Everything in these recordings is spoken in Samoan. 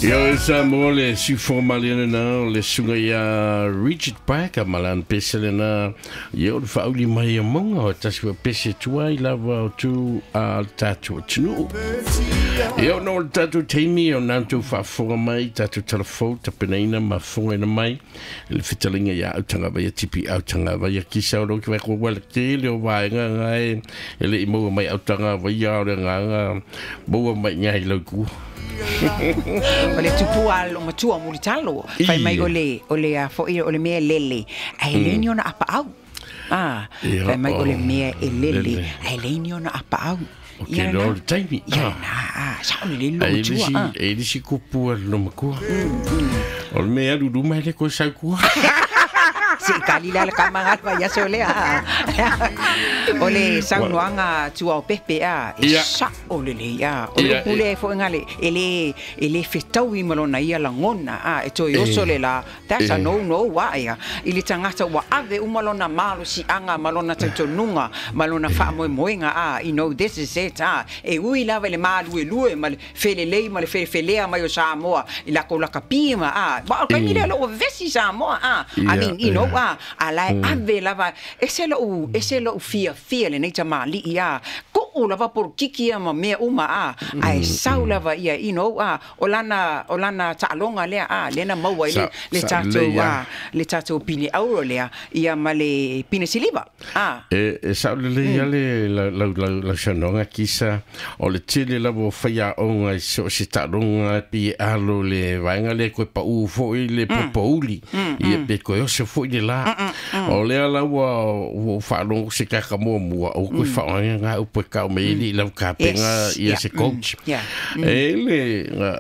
Ia Samoa le siufofoga malie lena o le susuga ia Richard Parker ma lana pese lena ia o le faauli mai o mauga o tasi foi pese tuai lava o tu a le tatou atunuu. Ia ona o le tatou taimi o na tou faafofoga mai tatou talafou tapenaina ma fofogaina mai le fetalaiga ia Autagavaia Tipi Autagavaia kisa o lo ki vai ko wala tele o vaega ngai e le i maua mai Autagavaia o le agaga maua mai ngai lau ku. O le tupua lo matua mulitalo fai mai o le a foi o le mea lele ai le ni ona apa au. Ah, fai mai o le mea e lele ai le ni ona apa au. O ke lo le taimi. Ia na, ah, sa o le lo matua. E lisi kupu a lo makua. O le mea alu luma ele ko sau kua. Se kali la ka manga pa ya so le a. O le saunoaga tua o pepe a e sa o le le a. O le pule fo ngale e le fetaui ma lona ia lagona a e toe oso le la. That's a no no wa ia. I le tagata ua ave uma lona malosiaga ma lona talitonuga ma lona faamoemoega a. You know this is it a. E ui lava i le maluelue ma le felelei ma le felefelea mai o Samoa i lakou lakapi ma a. Wa o kaimi lea loo vesi Samoa a. I mean, a ala e ave lava ese lou fiafia lenei tamalii a. Kuu lava polokiki ia ma mea uma a. Ae sau lava ia a o lana taaloga lea a lena maua i le tatou a le tatou pine auro lea ia ma le pine siliva a. E sao lelei ia le lau saunoaga kisa o le tele lava o faiaoga i so o se taaloga pe e alo le vaega lea koe pau foi le popouli ia pe koe oso foi le la. O lea la ua faalogo se kaka muamua o koe faaaogaina ngā upu e kau me ili lau kapenga ia se coach. E le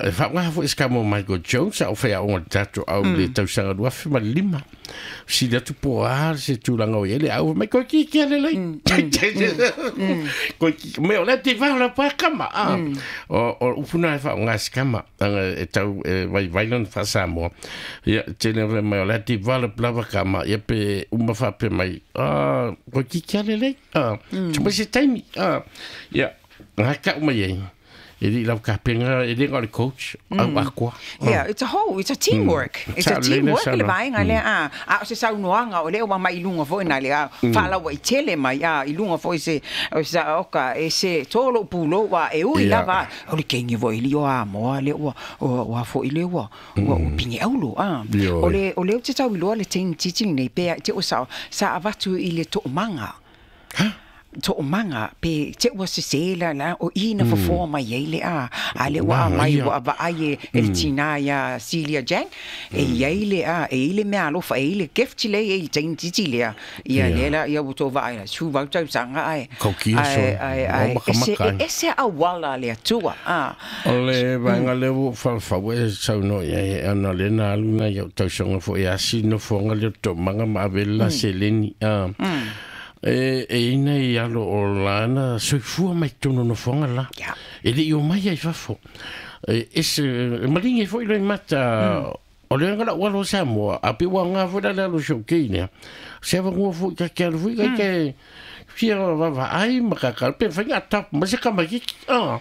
e faaaoga foi se kamo Michael Jones a o faiaoga le tatou au le tausaga 2005. Sili atu po a se tulaga o i ai le au mai koe ki kia le lei. Koe ki me o le te vau la pa kama a. O upuna e faaaoga se kama anga e tau e vai vai lona faa-Samoa. Ia tele mai o le develop lava kama ia pe uma faapea mai a koe ki kia le lei. A tu mai se taimi a ia ngā kau mai ai. E li lau kapenga e le le coach au akua. Yeah, it's a teamwork. It's a teamwork le vaega lea a. A o se saunoaga o lea ua mai i luga foi na le a faalaua i tele mai a i luga foi se o sa oka e se tolo pulo wa e ui lava o le kengi foi li o a moa le ua ua foi le ua pinge aulo a. O le o te tau iloa le teini titi nei pe te o sa avatu i le toomaga. Ha? Toomaga pe te ua sese la la o i na fofoa mai ai le a a le ua mai ua vaai e le tina ia Celia Jang e iai le a e i le mea alofa e i le gift le e i teini titi lea ia le la ia ua tou vaai la su vau tausaga ae Kaukia so. Ae O makamaka ai. Ese ese auala le Atua a. O le vaega lea ua whalawhau e saunoa i ai ana le na alu na iau tausaga foi asi nofoaga lea o toomaga ma ave le la seleni. A. E ina i alo o lana soifua mai tonu nofoaga la. E le i o mai ai fafo. E ese e malingi foi le mata o le ngala ua lo Samoa a pe ua ngā foi la le alo showkei nea. Se ava ngua foi ka ke alu foi ka ke fia vava ai ma ka ka pe whainga tap ma se kama ki ah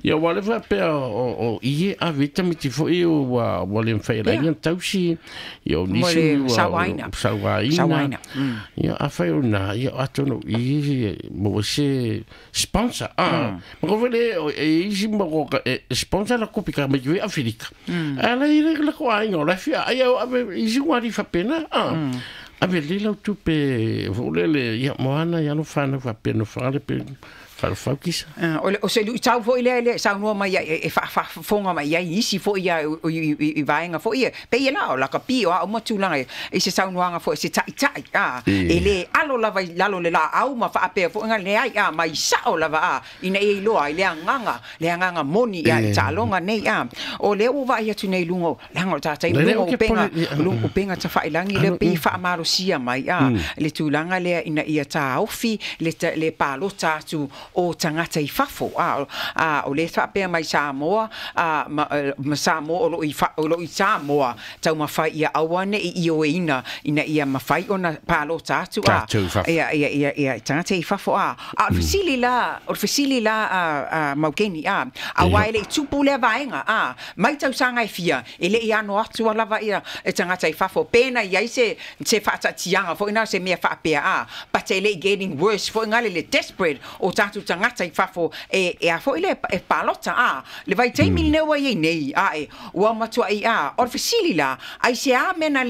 ia wa le fa pe o ie a vita mi ti foi o wa wa le whai la inga tausi ia o Mo nisi le ua sauaina. Sauaina. Sauaina. Ia a whai o nā ia atono i mo se sponsor ah ma ko vele o e isi ma ko ka e sponsor la kopi ka me ki Afrika ala i le la ko ai o la fia ai o ave isi wari fa pena ah ave le lau tupe fo le le ia moana ia no whana fa pena whale pe whale kisa. Ah, o se lui tau foi lea le saunoa mai ia e faafofoga mai ai isi foi ia i vaega foi ia pe ia la o lakapi o a uma tulaga i se saunoaga foi se ta'ita'i a e lē alo lava i lalo le laau ma faapea foi ga leai a mai sa'o lava a ina ia iloa ai le agaga moni ia i taaloga nei a o lea ua vaai atu nei luga leaga o tatai Le luga o ke upega pole- luga upega tafa'ilagi lea pei faamalosia mai a le tulaga lea ina ia taofi le palota atu. o tagata i fafo a o lē faapea mai Samoa ma Samoa o loo i Samoa taumafai ia aua neʻi ioeina ina ia mafai ona palota atu a ia ia ia ia tagata i fafo a o le fesili la o le fesili la a Maukeni a auā e leʻi tupu lea vaega a mai tausaga e fia e leʻi ano atu lava ia e tagata i fafo pena iai se faataatiaga foʻi na se mea faapea a but e leʻi getting worse foʻi gale le desperate o tatou tagata i fafo e a foʻi le e palota a le vaitaimi lenei ua iai nei a e ua matuaʻi a o le fesili la ai se a mea na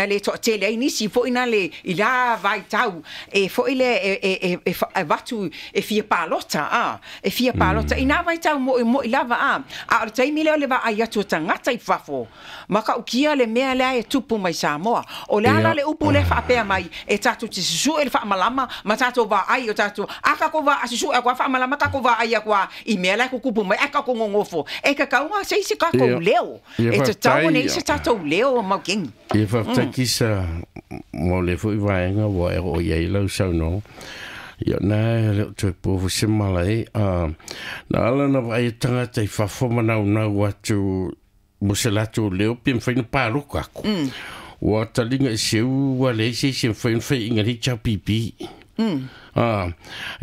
le toatele ai nisi foʻi na le i la vaitau e foʻi le e avatu e fia palota a e fia palota i nā vaitau moʻi moʻi lava a a o le taimi lea o le vaai atu o tagata i fafo ma kaukia le mea lea e tupu mai Samoa o le ala le upu lea faapea mai e tatou te susuʻe le faamalama ma tatou vaai o tatou a kakou vaai susuʻe aku a faamalama kakou vaai aku a i mea la e kukupu mai ae kakou gogofo e kakauga se isi kakou leo e tatau ona i se tatou leo Maukeni. Ia faafetai Kisa mo le foʻi vaega ua e oo i ai lau saunoaga. Ia na e le o toe pofu se mala e. Na ala na vaai e tagata i fafo ma naunau atu mo se latou leo pe mafai na paloka aku. Ua taliga i seu ua leai se isi e mafai ona faiʻiga le HRPP.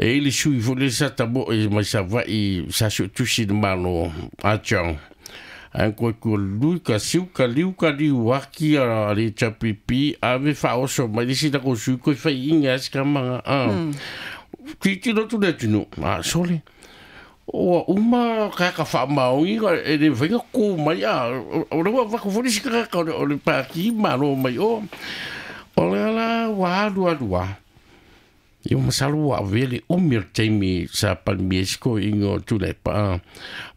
E i le sui foʻi le sa tamoʻe mai Savaʻi sa suʻetusi i le Malo a John. Ae koe kua lui ka siu ka liu ka liu aki a le HRPP ave faaoso mai le isi lako sui koe faiʻiga ai se kamaga. Tilotilo atu le atunuu a sole. Ua uma kaka faamaogiga e le mafai ona kō mai a o le ua avatu foi le isi tagata o le pati malo mai o. O le ala ua alu alu a. Ia masalo ua avea le umi o le taimi sa palemia ai se toeaina o Tuilaepa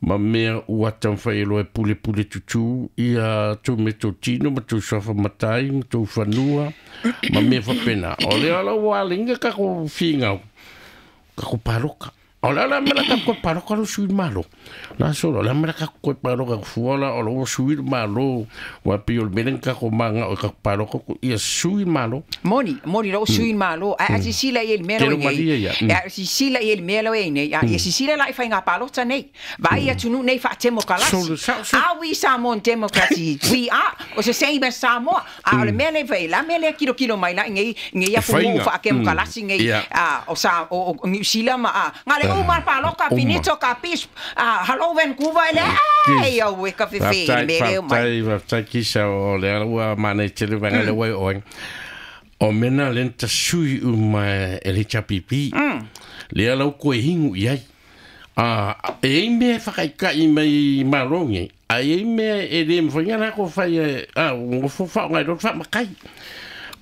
ma mea ua taumafai ai loa e pulepule tutū ia tou meatotino ma tou suafa matai ma tou fanua ma mea faapena. O lea la ua alaina tatou finau, tatou paloka. O le ala mea la tatou toe paloka lo sui malo. La solo, le mea la tatou toe paloka fua la o lo sui malo. Ua pei o le mea lea na tatou magao e tatou paloka ia sui malo. Moni, moni lou sui malo. Ae a sisila i ai le mea Tele lo malie nei. ia. E a sisila i ai le mea lo ei nei. A ia sisila la i whainga palota nei. Vai atunuu nei faatemokalasi. Solo sao so. Are we Samoan democracy? We are. O the same as Samoa. A o le mea le fai la mea le kilo kilo mai la ngei ngei E atunuu whainga. faatemokalasi ngei a o sa o New Zealand ma a ngale uma paloka Uma. finito ka pis a hello Vancouver le ai au e ka fefe Faafetai, le mea leo mai. faafetai, faafetai Kisa o le ala ua manai tele vaega lea ua e oe. O mea na lea na tasui uma e le HRPP. Lea lau koe higu i ai. E ai mea e whakaikai mai malo nei. A e ai mea e le mawhai ngā ko whai e, a, ngofo whaongai roto whaamakai.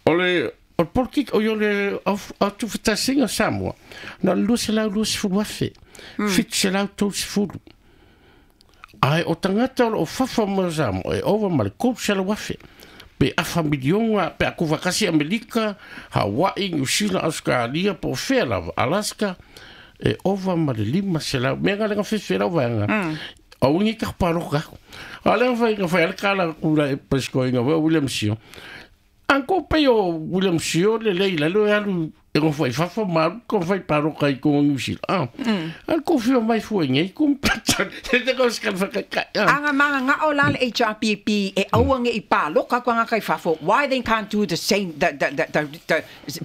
O le, o le politik o i o le atu whatasinga Samoa. Na le 220,000. 730. Ai o tangata o lo o fafa mo Samoa e ova ma le 300,000. Pe afa milionga, pe aku whakasi Amerika, Hawaii, New Zealand, Australia, po whea lava, Alaska, e ova ma le 500. Mea ngā lenga whiwhi lau vaenga. O wingi ka paloka ako. A lenga whai nga whai ale kala kula e pesko inga wea William Sio. Anko pe o William Sio le leila lo e alu e ngo whai fafa maru ko whai paloka i kongo New Zealand. Al ko whio mai fua ngei kumpata. Te te ko skan whakaikai. Anga manga nga o la le HRPP e aua nge i paloka kwa ngā kai fafo. Why they can't do the same, the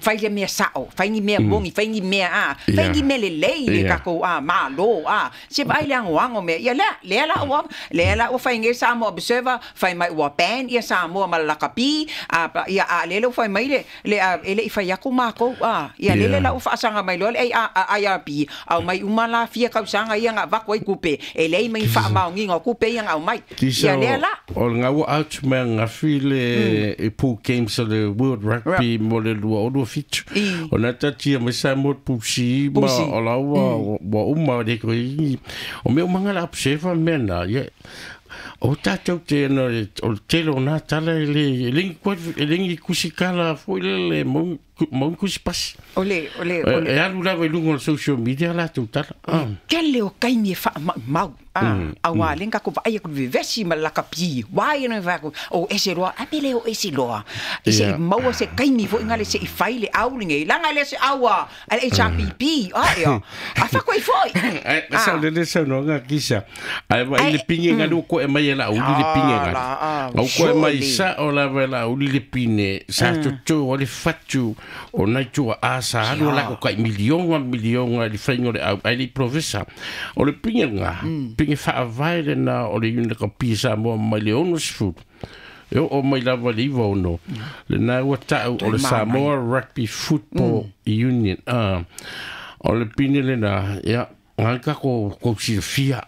whai le mea sao, whai ni mea mongi, whai ni mea a, whai ni mea le lei le kako a, malo a. Se vai le ango ango mea. Ia lea, lea la ua, lea la ua whai nge Samoa Observer, whai mai ua ban ia Samoa ma lakapi, a, ia a le le whai mai le, le a, e le i whai aku mākou a. Ia le le la ua whaasanga mai loa le IRB, au mai uma la fia kausanga ia ngā vaku ai kupe, e lei mai whaamaongi ngā kupe ia ngā au mai. Kisa Ia lea la. o le ngaua out mea ngafi le e pool games o le World Rugby mo le lua o lua fitu. O na tatia mai sa mo pusi ma Pusi. o la ua ua uma le ko i. O mea umanga la observa mea na. Ia. O tātou te ana o le tele o nā tala e le e lengi e lengi kusikala foi le le mau kusi pasi. Ole ole ole E alu lava i luga o le social media latou tala. Kele o kaimi e wha mau a wā lenga ko vai ko vevesi ma la kapi wai no va ko o ese roa a pele o ese roa i se maua se kaimi fo ngale se i faile au nge langa le se aua a HRPP a ia a fa ko i foi. Ai sa le le sa no nga kisa. Ai va i le pinge nga lu ko e mai la uli le pinge nga. Au ko e mai sa o la va la uli le pine sa to to o le fatu o nai tua a sa alu la ko kai milionga milionga le whainga le au ai le profesa. O le pinge nga pinge whaavae le na o le yuna ka pisa moa mai le ono sefulu. E o mai lava le iwa ono. Le na ua tau o le Samoa Rugby Football Union. O le pine le na, ia, ngai ka ko silafia.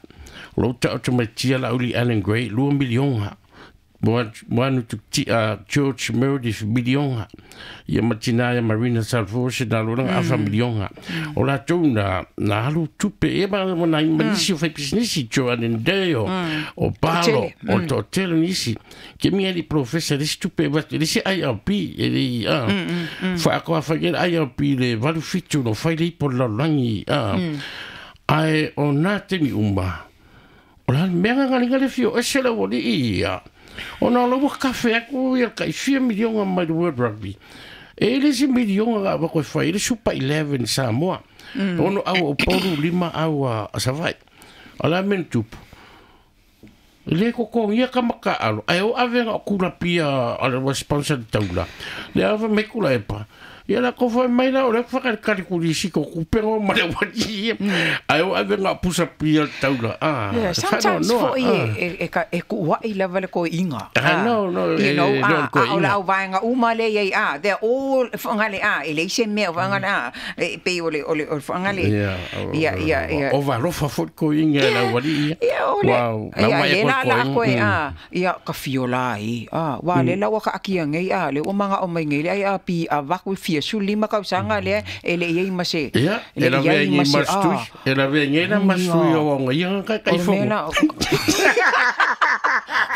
O lau tau te mai tia la uli Alan Gray, 2 milionga. Moanu tu George Meredith milionga. Ia matina ia Marina Salvose na loranga afa milionga. O la tou na alu tupe e ma na manisi o fai business Joan Ndeo o Palo o Totelo nisi. Ke mi ali professor le tupe va le se IRP e le fa ko fa ke IRP le valu fitu no fai le po la langi ai o na te mi umba. O la mea nga le fio e se la woli ia. O nā lawa kafe aku ia kai fia milionga mai le World Rugby. E le se milionga nga wako e whai, le Super 11 Samoa. Ono au o pauru lima au a Savai. O la men tupu. Le koko ia ka maka alo. Ai o avenga o kula pia a le sponsor taula. Le ava me kula epa. Ia la kofa mai la o le whakarekare kuri si ko kupengo ma le wati. Ai o avenga pusa pia taula. Yeah, sometimes fo e e ku wai lava le ko inga. No no you know a o la vainga uma le ia a they're all whangale a e le se me whangale a e pe o le o le whangale. Ia ia ia. O va rofa fo ko inga la wali. Ia o le. Ia la la ko a ia ka fiola i a wa le la wa ka akia ngai a le o manga o mai ngai le ai a pi a vaku fia su lima ka sanga le e le ia ma se ia e la ve ngai mastu e la ve ngai la mastu o ngai ia ka kai fo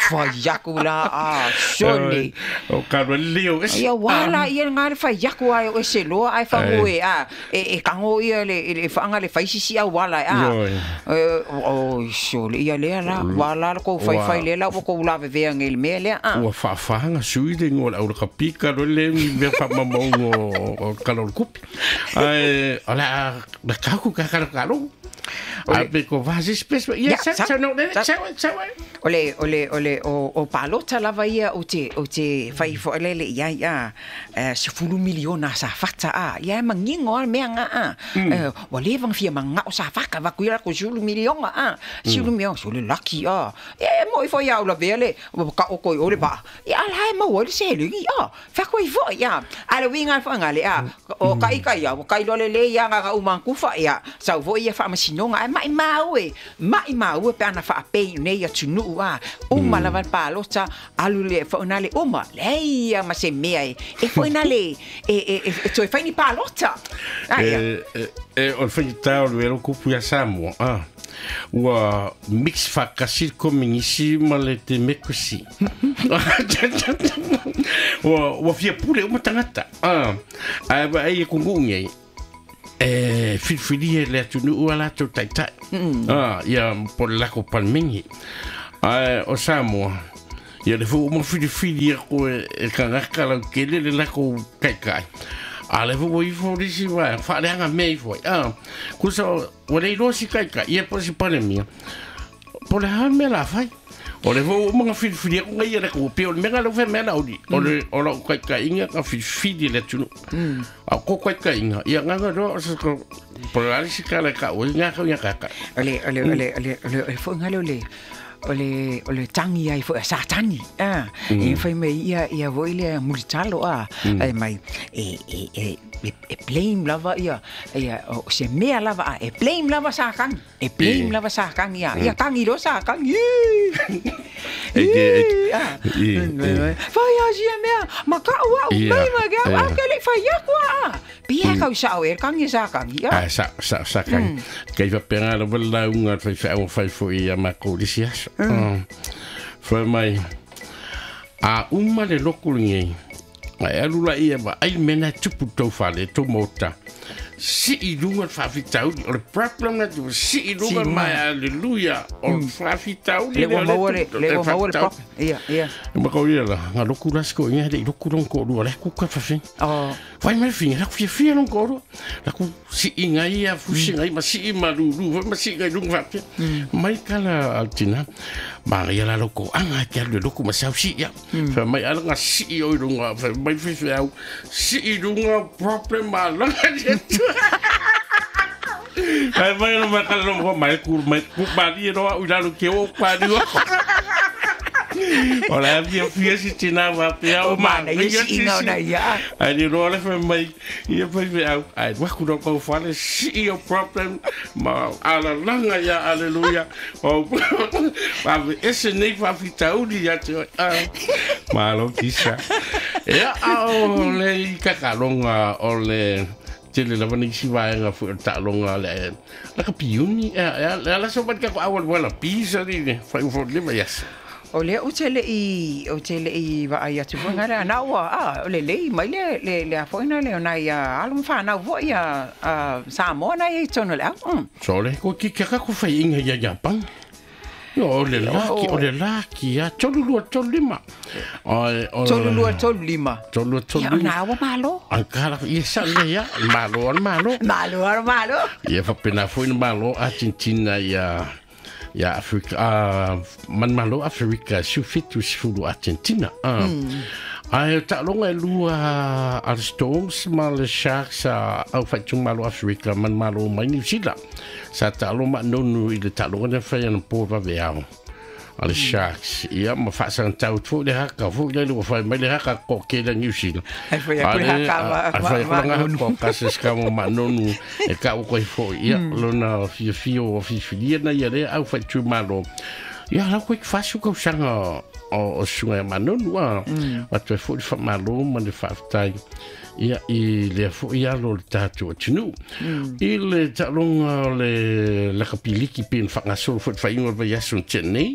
fa yakula a sole o ka leo ia wala ia ngai fa yaku ai o se lo ai fa moe a e kango ia le fa anga le fa sisi a wala a o sole ia le la wala ko fai fai le la ko la ve ngai le me le a ua fa fa nga sui le ngo la o ka pika lo le me fa mamongo o kalor kupi ai ala la ka ku ka ka lo a pe ko va espèce ia sa sa no sa sa ole ole ole o palota lava ia o te fai fo le le ia ia se fulu miliona sa fata a ia mangingo a mea nga a wa le vang fia manga o sa faka va kuira ko sulu miliona a sulu miliona sulu lucky a e mo i fo ia o la vele ka o ko o le ba ia la e mo o le se le ia fa ko i fo ia a le winga fo nga le a o kai kai ia o kai lo le le ia nga u mankufa ia sa vo ia fa masinonga ai mai mai mau pe ana fa pe nei ia tunu a uma lava palota alu le fo na le uma le ia ma se mea e fo na le e toi fai ni palota e o fai tau le ro kupu ia Samoa a ua mix fa kasil kominisi ma le te mekusi ua fia pule uma tangata a ai e kungu ngai e filfili le atunu ua latou taitai ia po le lako palmengi ai o Samoa ia le fo uma filifili ia ko e kangaka lau kele le lako kaikai a le fo ifo risi wa whaaleanga mea ifo kusa ua le iloa si kaikai ia po si palemia po le haa mea la whai o le fo uma nga filifili ako ngai le ko pe o le mea lau whai mea lauli o le o lau kaikai inga ka filifili le atunu a ko kaikai inga ia nganga roa o sa ko po le alisi ka le ka o ngā kau ia kaka ole ole ole ole ole fo ngale ole ole ole tangi ai fo sa tani a e fai me ia ia voi le mulitalo a ai mai e e e blame lava ia ia o se mea lava e blame lava sa kang e blame lava sa kang ia ia kangi lo sa kang e fai a sia mea ma ka wa mai ma ga a ke le fai ia kwa pia ka sa o e kangi sa kang ia a sa sa sa kang kai va penga lo la unga fai fai fai fo ia ma ko disia Fai mai, a uma le loku lenei, ai alu la ia ma ai mena tupu tau fale, tau mota. Si i lunga le faafitauli, o le problem na tu, si i lunga mai, alleluia, o le faafitauli. Le ua maua le, le ua maua le pop. Ia, ia. Ma kau ia la, nga loku la siko inga le loku long ko lua, le kuka fawhi. Oh. Fai mai finga, la ku fia long ko lua. La ku si inga ia, fusi ngai, ma si i malulu, ma si ngai lunga fawhi. Mai kala altina, ma ia la loko, anga te alu le loku ma sau si ia. Fai mai ala nga si i oi lunga, fai mai fai au, si i lunga problem ma langa te tu. Fai mai no mai kala no mai ku mai ku mali roa ui lalo ke o pa ni o. O la fia fia si tina wa pia o mana ia si inga ona ia. Ai ni roa le fai mai ia fai fai au. Ai waku no kau fale si i o problem ma ala langa ia alleluia. O ma ese nei fa fitauli ia te ma lo kisa. Ia o le kakalonga o le tele lava ni si vaega fu ta'aloga le la ka piuni e ala so bat ka ko awal wala pisa ni ne fai fo le yes. O lea o te le i va ai atu foi ngale ana ua a o le lei mai le le le a foi na le ona ia alu whanau foi ia Samoa na i tonu le au. So le ko ki ka ko fai inga ia Japan. No, o le laki, o le laki, a tolu lua tolu lima. O tolu lua tolu lima. Tolu lua tolu lima. Ia, ona awa malo. Angkara, ia sa le ia, malo al malo. Malo al malo. Ia whapena foi na malo Argentina ia ia Afrika, man malo Afrika, sufitu sifulu Argentina. Ai ta'aloga e lua al Storms ma le Sharks a au whaitu malo Afrika man malo mai New Zealand. Sa ta'alo ma nonu i le ta'aloga na whai ana pō wawe ao. A le Sharks. Ia ma whaasangantau tō le haka, fō le lua whai mai le haka ko ke la New Zealand. Ai whai aku le haka ma nonu. Ai whai aku le haka ma nonu e ka o koe fō. Ia lona whiawhio o whiwhilia na ia le au whaitu malo. Ia lau koe whasu kau sanga o sunga ma nonu a. Watu e fō le whamalo ma le whaaftai. Ia i lea fō i alo le tātou atunu. I le ta'aloga o le lakapiliki pe na whangasolo fō te whainga o le vaiaso na tenei.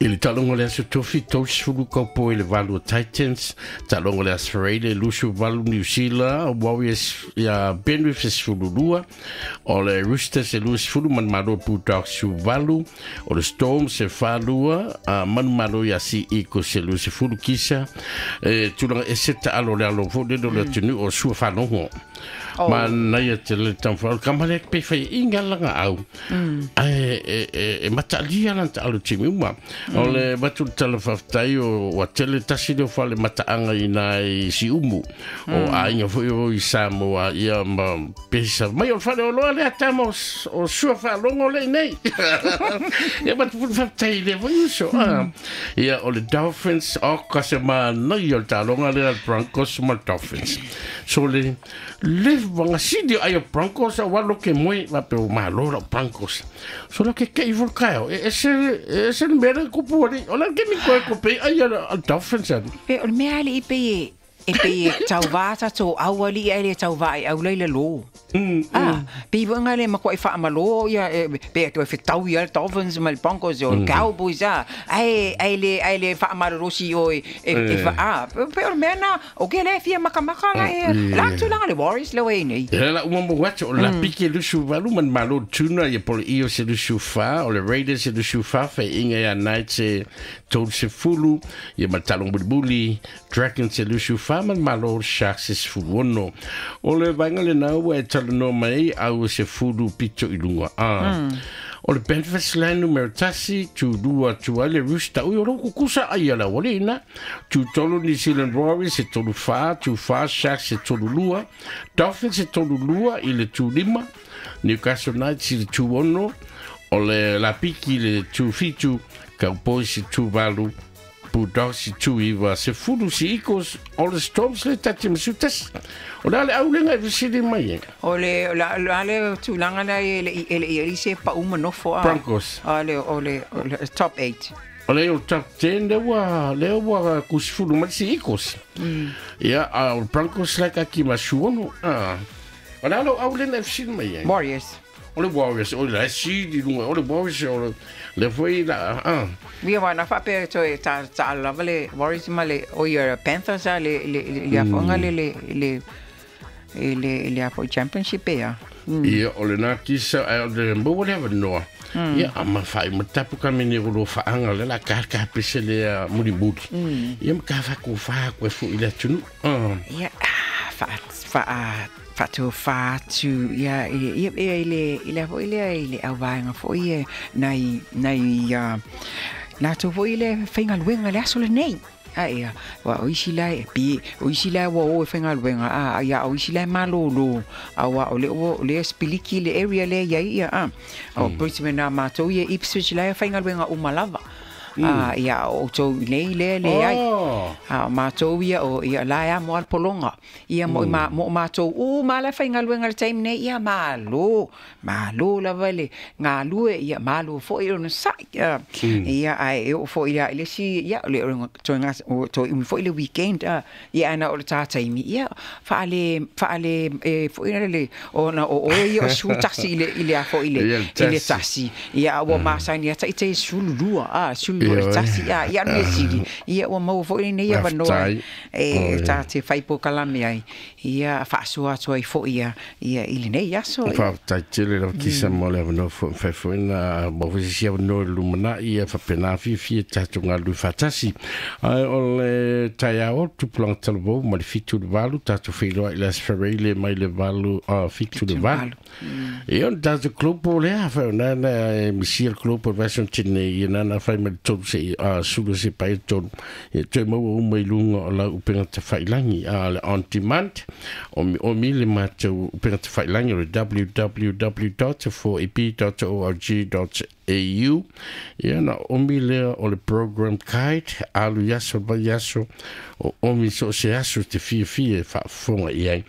I le ta'aloga le aso tofi, tausi kaupo i le valu o Titans, ta'aloga le aso Freire, lusu valu New Zealand, Warriors ia Benriff e sefulu lua, o le Roosters e lua sefulu, manu malo Bulldogs su valu, o le Storms e whalua, manu malo ia si Eagles e lua sefulu kisa, e tulaga e se ta'alo le alo fo le le atunu o sua whalogo. Ma naia te le tamwha, ka mare pe whai inga langa au. Ai, e matalia lan ta'alo timi uma. O le watu tala whaftai o wa tele tasi leo whale mataanga i nai si umu. O a inga fo o i Samoa ia ma pesa. Mai o whale o loa lea tama o sua whalongo le nei. Ia matu fulu whaftai le fo iuso. Ia o le Dolphins o kase ma nai o le talonga lea Broncos ma Dolphins. So le le wanga sidi ai o Broncos a walo ke moe wa pe o malo la Broncos. So la ke kei volkao e se mera kupu ali o la ke mi koe kope ai a Dolphins ani. Pe o le mea ali i pe e pe tauvā tō au ali e le tauvā i au leile lō. Pe wanga le makoa i whaamalo ia pe atu e whitau ia Dolphins ma le Broncos o le Cowboys a ai le whaamarorosi o e wha pe o le mea na o ke le fia makamaka la e la tūlanga le Warriors le wei nei. E la uma mo watu o la pike lusu valu man malo tuna ia pole iyo se lusu wha o le Raiders se lusu wha whai inga ia Knights se tolu se fulu ia matalong bulibuli Dragons se lusu wha man malo Sharks se fulu ono. O le vainga le nau e tala no mai au se fulu pito i lunga. O le Benfest Land numero tasi, tu lua tu ale Rooster, ui o loko kusa ai ala wale ina, tu tolu New Zealand Warriors se tolu wha, tu wha Sharks se tolu lua, Dolphins se tolu lua i le tu lima, Newcastle Knights i le tu ono, o le Lapiki le tu fitu, Cowboys se tu valu, Bulldogs i tu iwa, se fulu si Eagles, o le Storms le tati masutas. O le ale aulenga e visiri mai e. O le ale tūlanga la e le i se pa uma nofo a. Broncos. O le top 8. O le o top 10 le ua kusifulu mai si Eagles. Ia, o Broncos le kaki masuono. O le ale aulenga e visiri mai e. Warriors. O le Warriors o le si di lunga o le Warriors o le foi la a. Ia wana faapea toe ta lava le Warriors ma le o ia Panthers a le le afoga le le le le le afo championship ia. Ia o le na kisa a le mo le noa. Ia ama fai matapu ka mene ro faanga le la ka ka pese le muri muri. Ia ka fa ku fa ku fu ile tunu. Ia fa fa fa tu fa tu ia ia ile ile fo ile ile au fo ia nai nai na tu fo ile fainga luenga le aso le nei. A ia wa o isi lai pi o isi lai wa o fainga luenga a ia o isi lai malolo a wa o le o le spiliki le area le ia ia a o Brisbane na matou ia Ipswich lai fainga luenga o malava. A ia o tou nei le le ai a matou ia o ia la ia mo al polonga ia mo ma mo matou u ma la fainga luenga le time nei ia malo malo la vale ngā lue ia malo fo i ona sa ia ai e o fo ia le si ia le to nga to i fo i le weekend ia ana o le tata i ia fa le e fo i le ona o o ia o su taxi ile ile a fo ile ile taxi ia o ma sa ni ta ite sulu lua a sulu le taxi ia ia no sili ia o mau fo i nei ia vanoa e ta te fai po kalame ai ia fa sua toi fo ia ia ile nei ia so fa ta tele la kisa mo le no fo fa fo na mo fo si no lumana ia fa pena fi fi ta tunga lu fatasi ai o le taiao tu plan talvo mo le fitu le valu ta tu filo ila sferele mai le valu a fitu le valu e on ta tu club le fa na na misier club version tine ia na fa me to se a sulu se pai to e te mo o mai lunga la upenga te failangi a le on demand o mi le matou upenga te failangi o www.4ep.org.au ia na o mi le o le program guide alu yaso ba yaso o o mi so se aso te fia fia fa fonga ia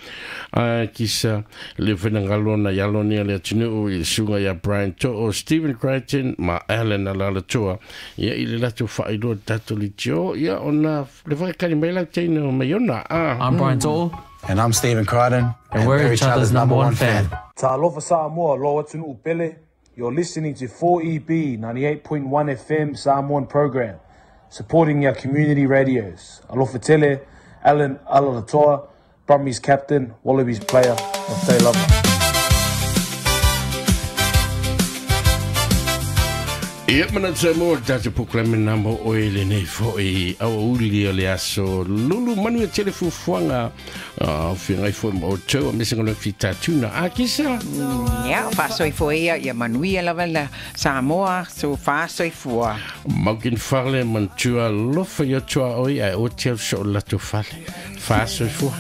a kisa le venangalona ia lonia le tunu i sunga ia Brian to o Stephen Crichton ma Alan Alalatua ia i le latu faailoa tatou litio ia ona le whakakari mai lau teina o maiona. I'm Brian To'o. And I'm Stephen Crichton. And we're each other's number one fan. Ta'alofa Samoa, lo atunu upele. You're listening to 4EB 98.1 FM Samoan program, supporting our community radios. Alofa tele, Alan Alaalatoa, Brummies captain, Wallabies player, Mate lava. Ia mana te mo tata puklame na mo o ele nei fo i au uli o le aso lulu manu e telefufuanga whingai fo mo tau a mesenga le fitatuna a kisa. Ia whasoi fo ia ia manuia lava la Samoa so whasoi fua. Maukin whale mantua lofa ia tua oi ai o te au so lato whale. Whasoi fua.